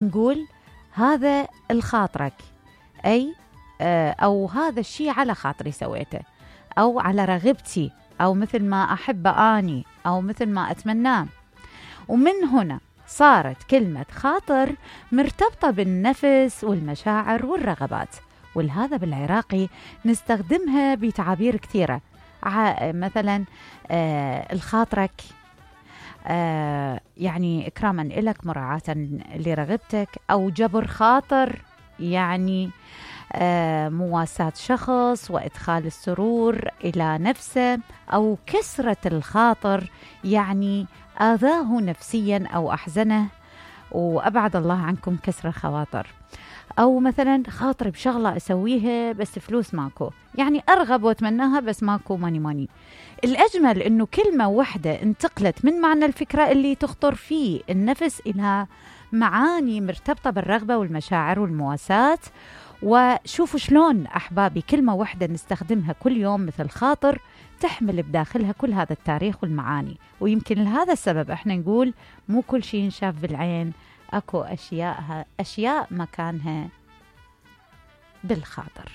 نقول هذا الخاطرك، أي أو هذا الشيء على خاطري سويته، أو على رغبتي، أو مثل ما أحب أني، أو مثل ما أتمناه. ومن هنا صارت كلمة خاطر مرتبطة بالنفس والمشاعر والرغبات، ولهذا بالعراقي نستخدمها بتعابير كثيرة. مثلا الخاطرك، يعني إكراما إلك، مراعاة لرغبتك، أو جبر خاطر يعني مواساة شخص وإدخال السرور إلى نفسه، أو كسرة الخاطر يعني آذاه نفسيا أو أحزنه، وأبعد الله عنكم كسر الخواطر. أو مثلا خاطر بشغلة أسويها بس فلوس ماكو، يعني أرغب وأتمناها بس ماكو ماني. الأجمل أنه كلمة واحدة انتقلت من معنى الفكرة اللي تخطر فيه النفس إلى معاني مرتبطة بالرغبة والمشاعر والمواساة. وشوفوا شلون أحبابي كلمة واحدة نستخدمها كل يوم مثل خاطر تحمل بداخلها كل هذا التاريخ والمعاني. ويمكن لهذا السبب احنا نقول مو كل شيء ينشاف بالعين، أكو أشياء مكانها بالخاطر.